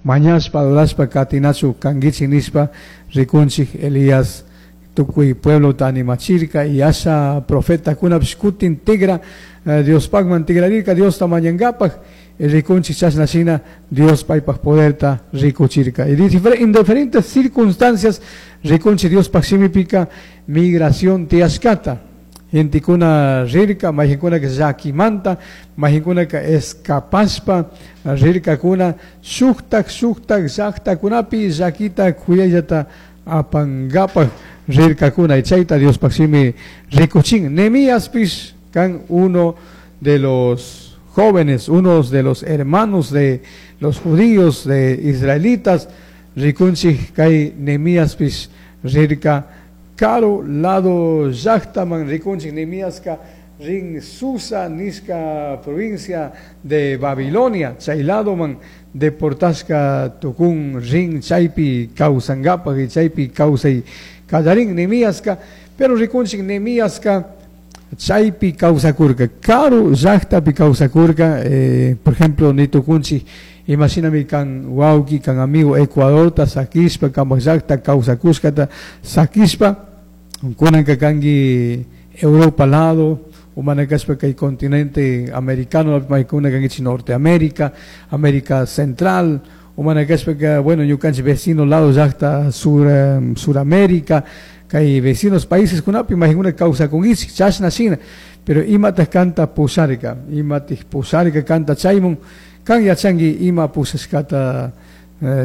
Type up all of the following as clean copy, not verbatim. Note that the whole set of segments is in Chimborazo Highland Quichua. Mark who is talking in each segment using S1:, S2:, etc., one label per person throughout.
S1: Mañashpa, adorashpa katinachu kankichik nishpa rikunchik Elías tukuy pueblota animachirka y asha profetakunapish kutin tigra Diospakman tigrarirka Diosta mañankapaj rikunchik chashna shina Dios paypak poderta rikuchirka. Y en diferentes circunstancias rikunchik Diospaj shimipika migración tiyashkata. Gentekuna rirka, mayqinkunaka llakimanta, mayqinkunaka escapashpa rirkakuna shuktak shuktak llaktakunapi llakita kuyayllata apankapaj rirkakuna. Y chayta Diospaj shimi rikuchin. Nehemíaspish kan uno de los jóvenes, uno de los hermanos de los judíos, de israelitas, rikunchik kay Nehemíaspish rirka karu lado llaktaman. Rikunchik Nehemíaska rin Susa nishka provincia de Babilonia, chay ladoman deportashka tukun, rin chaypi kawsankapaj y chaypi kawsay kallarin Nehemíaska. Pero rikunchik Nehemíaska chaypi kawsakurka, karu llaktapi kawsakurka. Por ejemplo, nitukunchik imashinami kan wawki, kan amigo Ecuadorta sakishpa, kanpak llakta kawsakushkata sakishpa, kunanka kanki Europa lado, o mana kashpa kay continente americano, maykuna kankichik Norteamérica, América Central, o mana kashpaka, bueno, ñukanchik vecino lado llakta Suramérica, kay vecinos países kunapi maykuna kawsakunkichik chashna shina. Pero imataj kanta pusharka, imataj pusharka kanta chaymun? Kan yachanki ima pushashkata,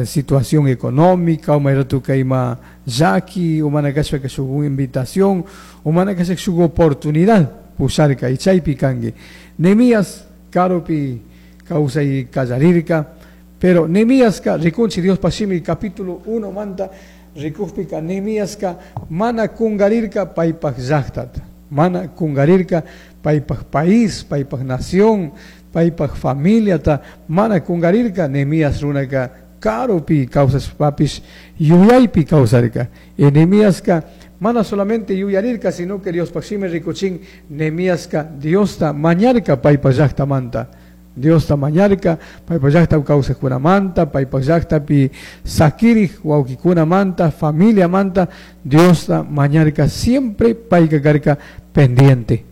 S1: situación económica, o mayratuka ima llaki, o mana kashpaka shuk invitación, o mana kashpa shuk oportunidad pusharka y chaypi kanki. Nehemías karupi kawsay kallarirka, pero Nehemíaska rikunchik Diospaj shimi capítulo 1 manta rikukpika Nehemíaska mana kungarirka paypaj llaktata, mana kungarirka paypaj país, paypaj nación, paypaj familiata, mana kungarirka. Nehemías runaka karupi kawsashpapish yuyaypi kawsarka. Y Nehemíaska mana solamente yuyarirka, sino que Diospaj shimi rikuchin Nehemíaska Diosta mañarka paypaj llaktamanta. Diosta mañarka paypaj llakta kawsajkunamanta, paypaj llaktapi sakirij wawkikunamanta, familiamanta, Diosta mañarka, siempre payka karka pendiente.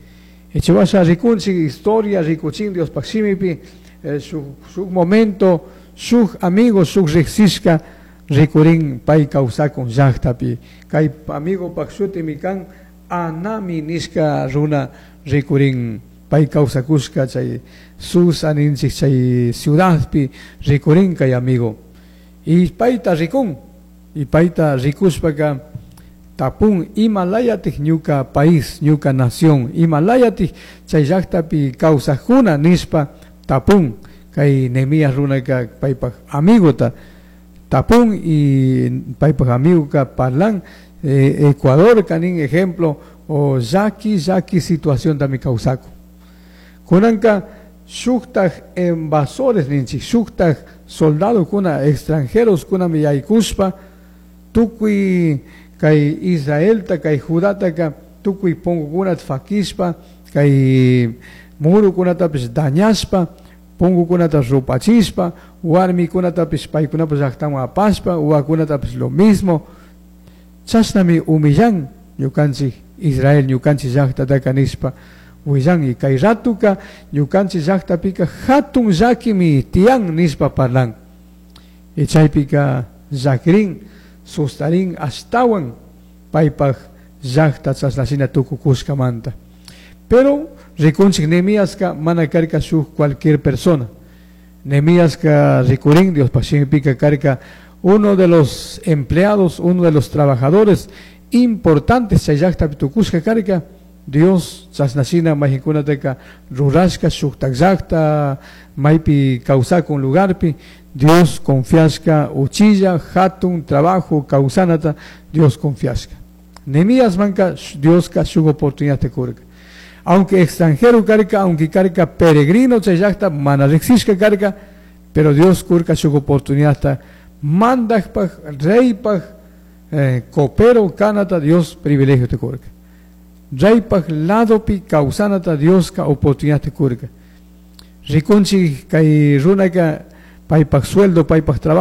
S1: Echewasha rikunchik historia rikuchin Diospaj shimipi, shuk momento shuk amigo, shuk riksishka rikurin pay kawsakun llaktapi. Kay amigopaj shutimi kan Anami nishka runa rikurin pay kawsakushka chay Susa ninchik chay ciudadpi rikurin kay amigo. Y payta rikun, y payta rikushpaka tapun ima layatik ñuka país, ñuka nación, ima layatik chay llaktapi kawsajkuna nishpa tapun. Kay Nehemías runaka paypaj amigota tapun y paypaj amigoka parlan, Ecuador kanin ejemplo o llaki llaki situación tami kawsakun. Kunanka shuktaj invasores ninchik, shuktaj soldadokuna extranjeros kunami yaykushpa tukuy kay Israelta, kay Judataka tukuy punkukunata fakishpa, kay murukunatapish dañashpa, punkukunata rupachishpa, warmikunatapish paykunapak llaktaman apashpa, wawakunatapish lo mismo. Chashnami humillan ñukanchik Israel, ñukanchik llaktataka nishpa willan. Y kay ratuka ñukanchik llaktapika hatun llakimi tiyan nishpa parlan. Y chaypika llakirin, sustarin ashtawan paypaj llakta chashnashina tukukushkamanta. Pero rikunchik Nehemíaska mana karka shuk cualquier persona. Nehemíaska rikurin Diospaj shimipika karka uno de los empleados, uno de los trabajadores importantes chay llaktapi tukushka karka. Dios chashnashina mayqinkunataka rurashka shuktak llakta maypi kawsakun lugarpi Dios confiashka uchilla hatun trabajo kawsanata Dios confiashka. Nehemíasmanka Dioska shuk oportunidad kurka. Aunque extranjero karka, aunque karka peregrino chay llakta mana riksishka karka, pero Dios kurka shuk oportunidad mandajpaj, reypaj, copero kanata Dios privilegio te kurka. Reypaj ladopi kawsanata Dioska oportunidad te kurka. Rikunchik kay runaka paypaj sueldo, paypaj trabajo.